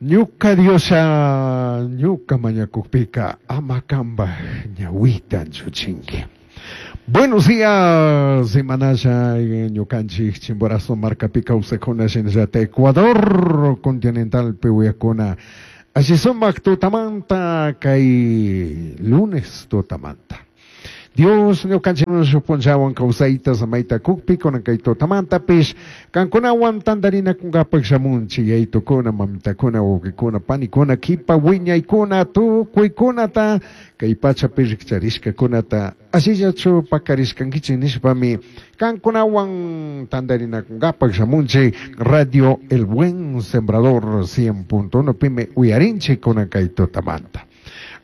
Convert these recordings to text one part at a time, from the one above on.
Ñuca Dioslla, ñuca mañacujpica ama cambaj ñahuita anchuchingui. Buenos días, semanalla ñucanchij Chimborazo marcapi causajcuna shinallata Ecuador continentalpi uyajcuna. Alli sumaj tutamanta cai lunes tutamanta. Dios ñucanchikman shuj punllahuan causaita samaita cujpi cunan cai tutamantapish cancunahuan tandarinacungapaj shamunchij, yaitocuna, mamitacuna, huauquicuna, panicuna, quipa huiñaicuna, tucuicunata cai pachapi rijcharishcacunata allillachu pacarishcanguichij nishpami cancunahuan tandarinacungapaj shamunchij. Radio El Buen Sembrador 100.1 pimi uyarinchij cunan cai tutamanta.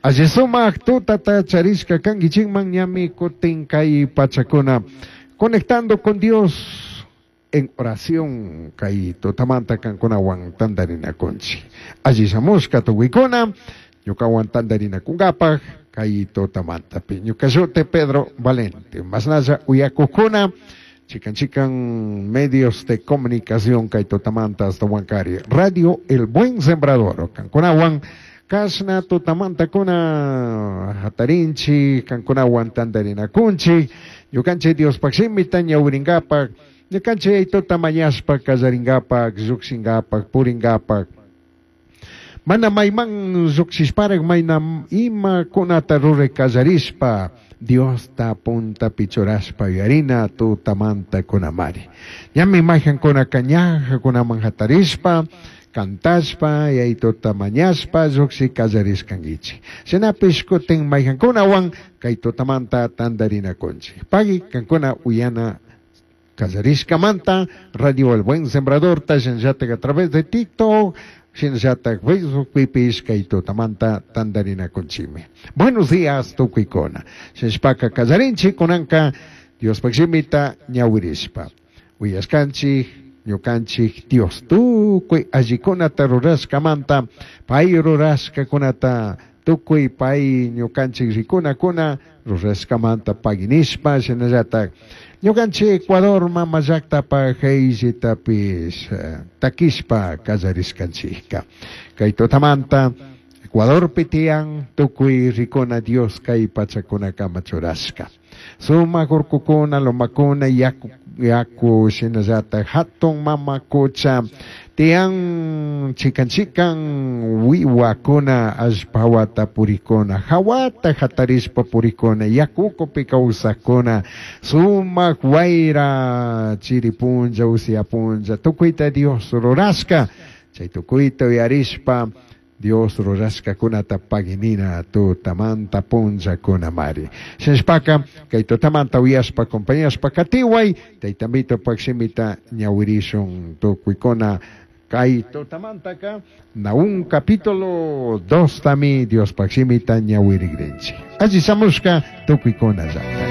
Alli sumaj tutata charishca canguichijman ñami cutin cai pachacuna Conectando con Dios en oración cai tutamanta cancunahuan tandarinacunchij. Alli shamushca tucuicuna ñucahuan tandarinacungapaj cai tutamantapi. Ñuca shuti Pedro Valente. Mashnalla uyacujcuna chican chican medios de comunicación cai tutamanta ashtahuancari Radio El Buen Sembrador cancunahuan cashna tutamantacuna jatarinchij, cancunahuan tandarinacunchij, ñucanchij Diospaj shimita ñahuiringapaj, ñucanchij Yaitota mañashpa callaringapaj, llujshingapaj, puringapaj. Mana maiman llujshishparaj maina imacunata rurai callarishpa, Diosta puntapi churashpa yuyarina tutamantacunamari. Ñami maijancunaca ñajacunaman jatarishpa, cantashpa, Yaitota mañashpa llujshi callarishcanguichij. Shinapish cutin maijancunahuan cai tutamanta tandarinacunchij. Pagui cancuna uyana callarishcamanta Radio El Buen Sembradorta shinallataj a través de TikTok, shinallataj Facebookpipish cai tutamanta tandarinacunchijmi. Buenos días tucuicuna. Shinashpaca callarinchij cunanca Diospaj shimita ñahuirishpa. Uyashcanchij ñucanchij Dios tucui allicunata rurashcamanta, pai rurashcacunata tucui pai ñucanchij ricunacuna rurashcamanta pagui nishpa, shinallataj ñucanchij Ecuador mama llajtapaj jeyllitapish taquishpa callarishcanchijca. Cai tutamanta Ecuadorpi tiyan tucui ricuna Dios cai pachacunacama churashca. Sumaj urcucuna, lomacuna, yacu, yacu shinallataj jatun mama cucha tiyan chican chican huihuacuna, allpa jahuata puricuna, jahuata jatarishpa puricuna, yacu ucupi causajcuna, sumaj huaira, chiri punlla, usia punlla, tucuita Dios rurashca, chai tucuita uyarishpa, Dios rurashcacunata pagui nina tutamanta punllacunamari. Shinashpaca, cai tutamanta uyashpa, acompañashpa catihuai, Taita Amitopac shimita ñahuirishun tucuicuna. Cai tutamantaca, Nahúm capítulo 2 tami Diospac shimita ñahuirigrinchij. Alli shamushca tucuicuna llacta.